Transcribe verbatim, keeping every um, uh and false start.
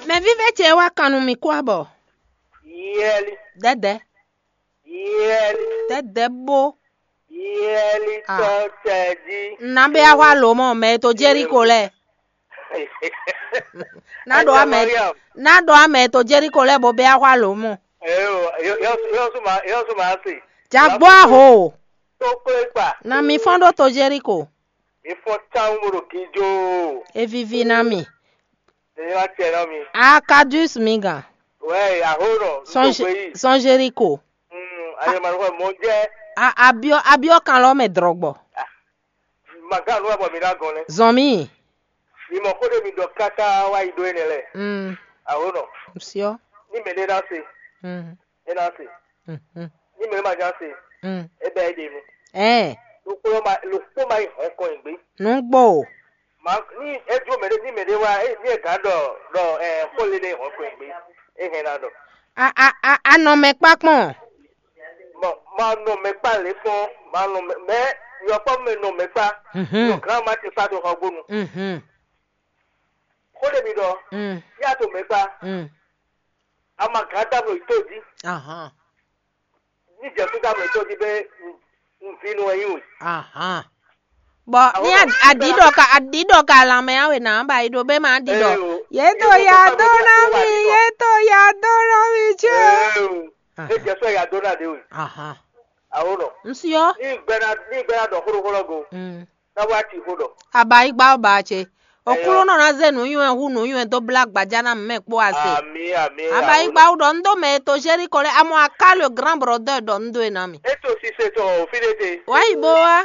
Mɛ vívɛ́ ce wá kan nú mì kú abɔ. Yɛli, Dɛdɛ, yɛli, dɛdɛ bó. Yɛli Ah. Tɔ tɛ jí. Ná bɛ axwa lǒ mɔ mɛ e to Jeriko lɛ. Ná ɖo amɛ, Mariam. Ná ɖo amɛ e to Jeriko lɛ bó bɛ axwa lǒ mɔ. Eyo, yɔ yɔ yɔ suma yɔ suma asi. Jagbó aho. Tó kplé kpa. Na mi fɔn ɖó to Jeriko. Mi fɔn tawun mo ɖo gíjó. E vivi na mi. Ní wá tɛ nɔ mi. Akadus mi gan. Wɛ aho nɔ. Sɔn Jeriko. Mm, ayé ma nɔ mɔ jɛ. Abiɔ abiɔ kan lɔ mɛ drɔgbɔ. Maga nu abɔ mi ná gɔn lɛ. Zɔn mi. Mi mɔ xó ɖe mi ɖɔ káká wá yi ɖó énɛ́ lɛ. Mm. Aho nɔ. Siɔ. Ní mɛ ɖé ná se. Mm. É ná se. Mhm. Ní mɛ ɖé ma já se. Mm. É bɛ é ɖe nu. Ɛ. Lukpó ma lukpó ma yi hɔn kɔn yi gbé. Nugbo. Ma ní é jó mɛ ɖé ní mɛ ɖé wá é ní é gǎn ɖɔ ɖɔ ɛ xó lé ɖé hɔn kɔn yi gbé. É hɛn ná ɖɔ. A a a a nɔ mɛ kpá kpɔn. Mɔ ma nɔ mɛ kpá lě kpɔn ma nɔ mɛ mɛ yɔkpɔ mɛ nɔ mɛ kpá. Mhm. Nɔ gǎn ma ti kpá to xɔ gbónu. Mhm. Xó ɖe mi ɖɔ. Mm. Yá to mɛ kpá. Mm. Ama gǎn dá mɔ yi tó jí. Ahan. Ní jɛ kú dá mɔ yi tó jí bɛ nví nú ẹ yín wè. Ahan. Bɔ ní aɖǐ ɖɔ ka aɖǐ ɖɔ ka lanmɛ awe nà ba yi ɖo bɛ ma ɖi ɖɔ. Yé to ya dó ná mi, yé to ya dó ná mi cé. Ẹ jẹ sọ ya dó ná de wè. Ahan. Awo nɔ. Nsiɔ. Ní gbɛna ní gbɛna dɔ xóɖó xóɖó go. Mm. Ná wá ti xó ɖɔ. Abayigba ɔ́ ba ce. Òkúlónɔ ná zé nǔnywɛ́ hú nǔnywɛ́ dó blá gbajá ná mɛ kpó ase. Ami ami. Abayigba wú ɖɔ un ɖó mɛ e to Jeriko lɛ́ɛ amɔ aká le grand brother ɖɔ un ɖó e ná mi. Eto sise tɔn o fi ɖe te. Wá yi bó wá.